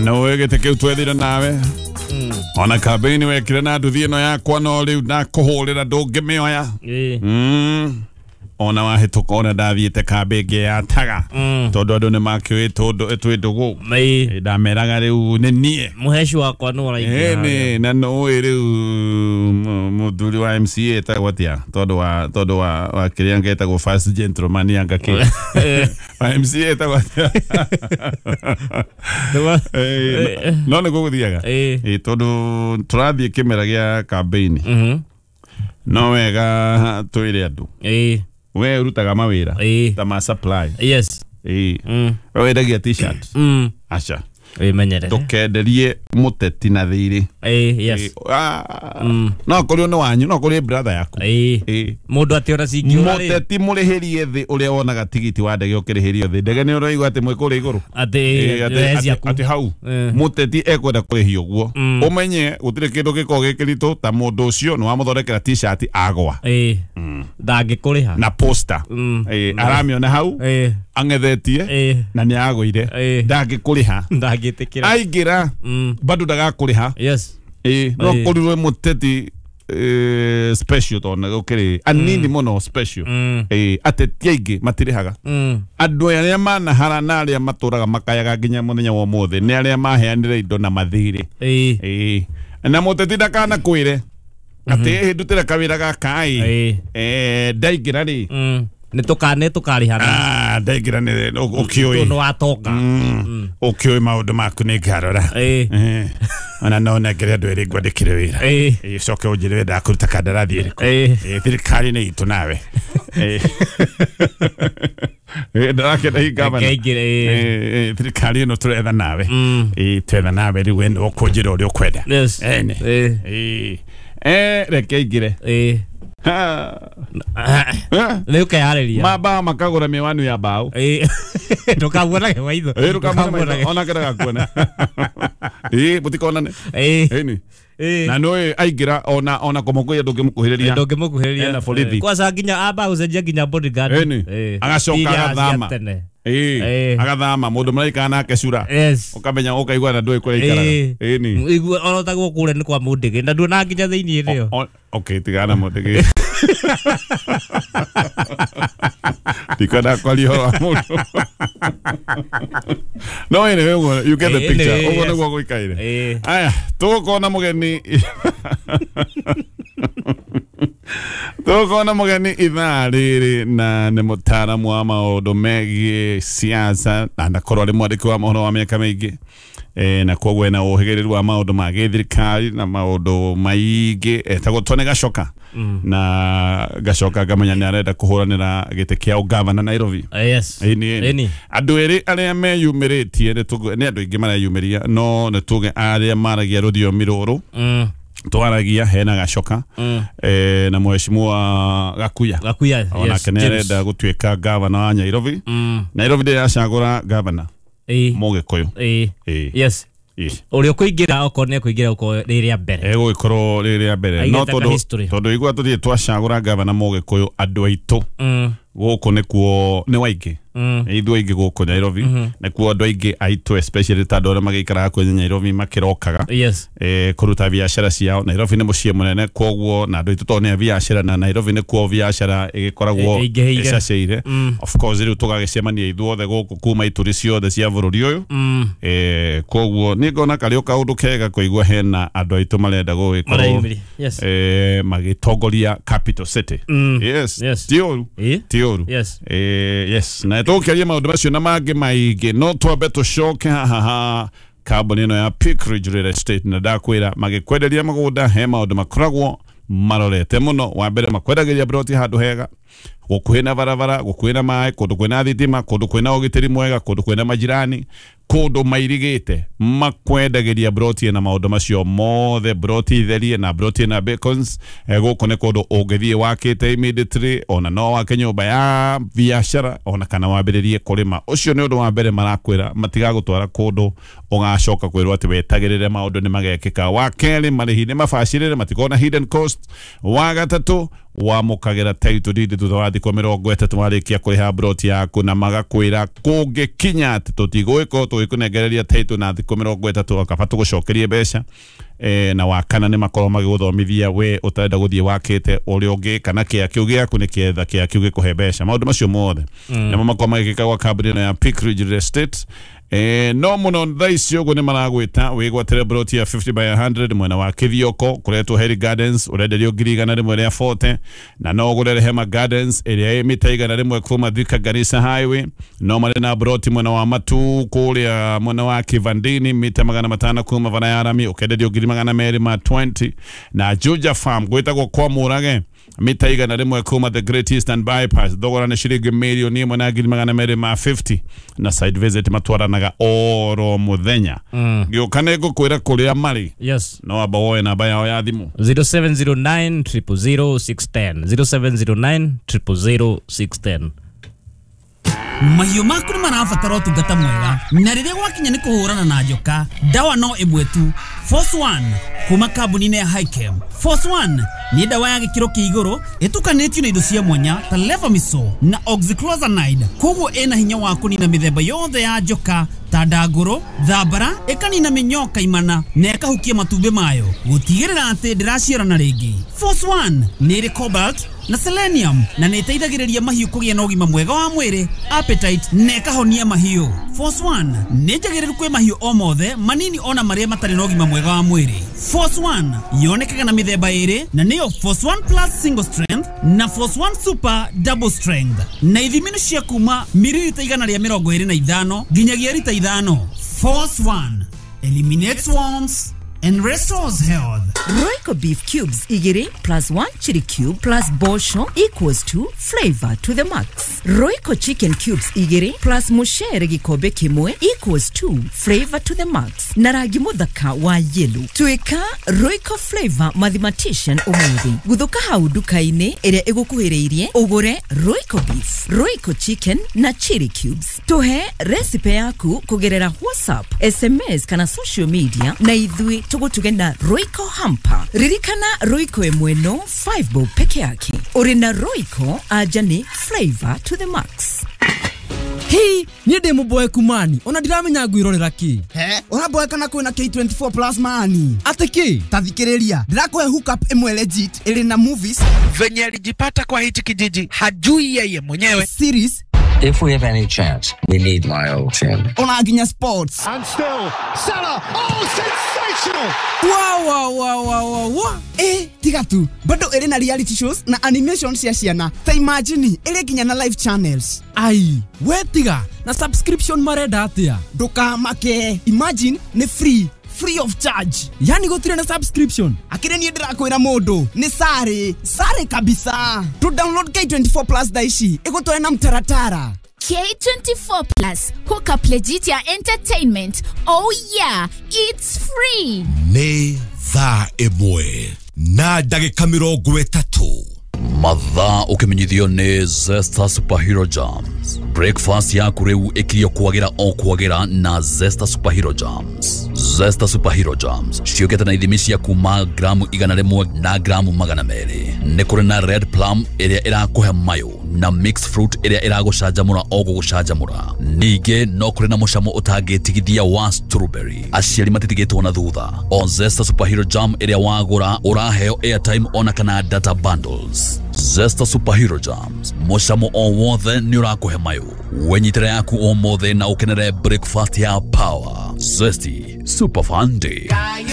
Na nĩ gĩtĩ kĩu twethire nawe. Ona kambĩini wekire na nduthi ĩno yakwa no rĩu ndakũhũrĩra ndũngĩmĩoya. Ona wahĩtũka ona ndathiĩte kambĩ ĩngĩ ya taga. Tondũ andũ nĩ makĩũĩ tondũ twĩ ndũgũ. Ndameraga rĩu nĩ niĩ. Mũheci wakwa nĩ ũraingĩra. Ĩni na nũĩ rĩu mũthuri wa MCA etagwo atĩa tondũ wa kĩrĩa ngetagwo first gentleman anga kĩ. Wa MCA etagwo atĩa? No nĩguo gũthiaga. Tondũ tũrathiĩ kĩmera gĩa kambĩini. No wega twĩre andũ. We ũrutaga mawĩra ta ma supply. Yes. We wendagia t-shirt. Aca. Wĩmenyerere. Ndũkenderie mũteti na thirĩ. Yes. No kũrĩ nĩ wanyu, no kũrĩ brother yaku. Mũndũ atĩ ona cingĩũra rĩ. Mũteti mũrĩhĩrie thĩ ũrĩa wonaga tigiti wa ndege ũkĩrĩhĩrio thĩ. Ndege nĩ ũraigua atĩ mwĩ kũrĩa igũrũ. Atĩ atĩ hau. Mũteti ekwenda kũrĩhio ũguo. Ũmenye gũtirĩ kĩndũ gĩkoragwo gĩ kĩritũ ta mũndũ ũcio nĩ wamũthondekera t-shirt agwa. Ndangĩkũrĩha. Na poster. Aramĩona hau. Ang'ethetie na nĩ agũire. Ndangĩkũrĩha. Ndangĩtĩkĩra. Aingĩra bado ndagakũrĩha. Yes. No kũrirwe mũteti special tondũ gũkĩrĩ anini mũno special. Ateti aingĩ matirĩhaga. Andũ arĩa manahara na arĩa matũraga makayaga nginya mũthenya wa ũmũthĩ nĩ arĩa maheanire indo na mathirĩ. Na mũteti ndakanakwĩre atĩ ndutĩre kawĩra gaka ĩ ndaingĩra rĩ. Nĩ tũkarĩhana. Ndaingĩra nĩ ũkĩũĩ. Tondũ watonga. Ũkĩũĩ maũndũ maku nĩ ngarora. Ona no nengere andũ erĩ ngwandĩkĩre wĩra. Ũcoke ũnjĩre wendaga kũruta kandarathi ĩrĩkũ. Thirikari nĩ itũ nawe. Ndarakena hi gavana. Thirikari ĩno tũretha nawe. Twetha nawe rĩu we nĩwe ũkũnjĩra ũrĩa ũkwenda. Yes. Reke ingĩre. Rĩu ũkeyarĩria. Mambao makagũra mĩwani ya mbaũ. Ndũkamuonage maitho. Ndũkamuone maitho onake ndagakuona. Mũtikonane. Ĩni. Na nĩũĩ aingĩra ona kũmũkũhĩrĩria ndũngĩmũkuhĩrĩria. Ndũngĩmũkuhĩrĩria. Ena borithi. Kwanza nginya amba gũcenjia nginya bodyguard. Ĩni. Agacoka agathama. Agathama mũndũ maraikara nake cura. Ũkamenya ũkaigua na ndũĩ kũrĩa aikaraga. Ĩni. Igua ona ũtagwo kũrĩa nĩ kwa Mũndĩgĩ na nduona nginya thĩinĩ rĩo. Okay, tigana Mũndĩgĩ. Ndikwenda kwaria ũhoro wa mũndũ. No anyway, you get the picture. Ũguo nĩguo gũikaire. Aya, tũgũkorwo na mũgeni. Tũgũkorwo na mũgeni ithaa rĩrĩ na nĩ mũtaaramu wa maũndũ megiĩ siasa na ndakorwo arĩ mwandĩki wa mohoro wa mĩaka mĩingĩ. Na koguo ena ũhĩgĩrĩru wa maũndũ ma gĩthirikari na maũndũ maingĩ etagwo Tony Gachoka. Na Gachoka ngamenya nĩ arenda kũhũranĩra gĩtĩ kĩa ũgavana Nairobi. Yes. Andũ erĩ arĩa meyumĩrĩtie nĩ andũ aingĩ mareyumĩria no nĩ tuge arĩa maragia rũthiomi rũrũ twaragia hena Gachoka na mheshimiwa Gakuya. Gakuya, onake nĩ arenda gũtuĩka gavana wa Nairobi. Nairobi ndĩracagũra gavana Mũgĩkũyũ. Yes. Ũrĩa ũkũingĩra okorwo nĩ ekũingĩra okorwo rĩ rĩa mbere. Egũgĩkorwo rĩ rĩa mbere. No tondũ igua tũthiĩ twacagũra gavana Mũgĩkũyũ andũ aitũ gũkũ nĩkuo nĩ waingĩ. Ithuĩ aingĩ gũkũ Nairobi nĩkuo andũ aingĩ aitũ especially ta andũ arĩa magĩikaraga kwenye Nairobi makĩrokaga kũruta biacara ciao. Nairobi nĩ mũciĩ mũnene koguo na andũ aitũ tondũ nĩ a biacara na Nairobi nĩkuo biacara ĩgĩkoragwo ĩcacĩire. Of course rĩu tũgagĩcemania ithuothe gũkũ kuma ituri ciothe cia bũrũri ũyũ. Koguo nĩ ngona karĩ o kaũndũ kega kũigua hena andũ aitũ marenda gũgĩkorwo magĩtongoria capital city. Yes. Ti ũru. Ti ũru. Yes. Na tũkĩaria maũndũ macio na mangĩ maingĩ no twambe tũcoke haha kambuni ĩno ya Peak Ridge Real Estate na ndakwĩra magĩkwenderia mũgũnda he maũndũ makoragwo marorete mũno. Wa mbere makwendagĩria broti handũ hega gũkuhĩ na barabara, gũkuhĩ na maĩ, kũndũ kwĩna thitima, kũndũ kwĩna ũgitĩri mwega, kũndũ kwĩna majirani, kũndũ mairigĩte. Makwendagĩria broti na maũndũ macio mothe, broti therie na broti na bacons. Gũkũ nĩ kũndũ ũngĩthiĩ wakĩte immediately, ona no wake nyũmba ya biacara ona kana wambĩrĩrie kũrĩma. Ũcio nĩ ũndũ wa mbere marakwĩra, matigagũtwara kũndũ ũgacoka kwĩrwo atĩ wetagĩrĩre maũndũ nĩ magekĩka. Wa kerĩ, marĩhi nĩ mabacĩrĩre, matikorwo na hidden cost. Wa gatatũ, Wamũkagĩra title deed thutha wa thikũ 30 warĩkia kũrĩha broti yaku, na magakwĩra kũngĩkinya atĩ tũtigũgĩkorwo tũgĩkũnengereria title na thikũ 30 akaba tũgũcokerie mbeca. Na wakana nĩ makorwo magĩgũthomithia we ũtarenda gũthiĩ wakĩte ũrĩa ũngĩ kana kĩa kĩu gĩaku nĩ kĩetha kĩa kĩu gĩkũhe mbeca. Maũndũ macio mothe nĩmo makorwo magĩkĩka gwa kambuni ĩno ya Peak Ridge Real Estate. No mũno thaa ici ũguo nĩ maragwĩta wĩgwatĩre broti ya 50 by 100 mwena wa Kithioko kũretwo Heri Gardens, ũrenderio 140,000, na no ũgũre Rehema Gardens ĩrĩa ĩ mita 100 kuma Thika Garissa Highway. No marĩ na broti mwena wa Matu kũrĩa mwena wa Kivandini mita 500 kuma bara ya rami, ũkenderio 220,000. Na Juja Farm gwĩtagwo kwa Mũrage mita 100 kuma the Great Eastern Bypass, thogora nĩ ciringi 1,250,000, na site visit matwaranaga oro muthenya. Gĩũka nĩ ngũkwĩra kũrĩa marĩ. Yes. No amba woe namba yao ya thimũ 0709 000 610, 0709 000 610. Mahiũ maku nĩ marabatara ũtungata mwega, na rĩrĩa gwakinya nĩ kũhũrana na njoka, ndawa no ĩmwe tu, Force One kuma kambuni-inĩ ya Hikem. Force One nĩ ndawa ya gĩkĩro kĩa igũrũ ĩtukanĩtio na indo cia mwanya ta levamisole na oxyclozanide, koguo ĩna hinya wa kũnina mĩthemba yothe ya njoka ta ndangũrũ, thambara, ĩkanina mĩnyoo kaimana na ĩkahukia matumbĩ mayo gũtigĩrĩra atĩ ndĩraciarana rĩngĩ. Force One nĩ ĩrĩ cobalt na selenium na nĩ ĩteithagĩrĩria mahiũ kũgĩa na ũgima mwega wa mwĩrĩ, appetite, na ĩkahonia mahiũ. Force One nĩ njagĩrĩru kwĩ mahiũ o mothe manini ona marĩa matarĩ na ũgima mwega wa mwĩrĩ. Force One yonekaga na mĩthemba ĩrĩ, na nĩyo Force One Plus Single Strength na Force One Super Double Strength, na ithimi nĩ cia kuma mililita 125 nginyagia rita 5. Force One eliminates worms and restores health. Royco beef cubes igiri plus 1 chili cube plus bosho equals to flavor to the max. Royco chicken cubes igiri plus mushere gikombe kimwe equals to flavor to the max. Na rangi muthaka wa yellow. Tuika Royco flavor mathematician umuthi. Guthuka hau nduka-inĩ ĩrĩa ĩgũkuhĩrĩirie ũgũre Royco beef, Royco chicken na chili cubes. Tuhe recipe yaku kũgerera WhatsApp, SMS kana social media na ithuĩ tũgũtuge na Royco hamper. Ririkana Royco ĩmwe no 5 bob peke yake. Ũrĩ na Royco anja nĩ flavor to the max. Hii, niĩ ndĩ mũboeku mani, ona ndiramenya ngwĩrorera kĩ. He, ũraboeka na kwĩna K24 Plus mani. Atĩ kĩ? Ta thikĩrĩria, ndĩrakũhe hookup ĩmwe legit ĩrĩ na movies. Venye alijipata kwa hichi kijiji hajui yeye mwenyewe. Series. If we have any chance, we need my old team. Ona nginya sports. And still, Salah, oh, sensational! Wow, wow, wow, wow, wow. Tiga tu, bado ĩrĩ na reality shows na animation cia ciana. Ta imagine, ĩrĩ nginya na live channels. Ai, we tiga, na subscription marenda atia? Ndũkamake, imagine nĩ free. Free of charge. Yani gũtirĩ na subscription. Akĩrĩ niĩ ndĩrakwĩra mũndũ nĩ sare, sare kabisa. To download K24 Plus thaa ici ĩgũtware na mtaratara. K24 Plus, hook up legit ya entertainment. Oh yeah, it's free. Nĩ thaa 1 na ndagĩka 30. Mathaa ũkĩmenyithio nĩ Zesta Superhero Jams. Breakfast yaku rĩu ĩkirio kwagĩra o kwagĩra na Zesta Superhero Jams. Zesta Superhero Jams ciũkĩte na ithimi cia kuma gramu 100 na gramu 200. Nĩ kũrĩ na red plum ĩrĩa ĩrakũhe mayo na mixed fruit ĩrĩa ĩragũcanjamũra o gũgũcanjamũra. Ningĩ no kũrĩ na mũcamo ũtangĩtigithia wa strawberry. Aciari matitigĩtwo na thutha. O Zesta Superhero Jam ĩrĩa wagũra ũraheo airtime ona kana data bundles. Zesta Superhero Jams, mũcamo o wothe nĩ ũrakũhe mayo. Wenyitĩre yaku o mothe na ũkenere breakfast ya power. Zesty Super Fun Day.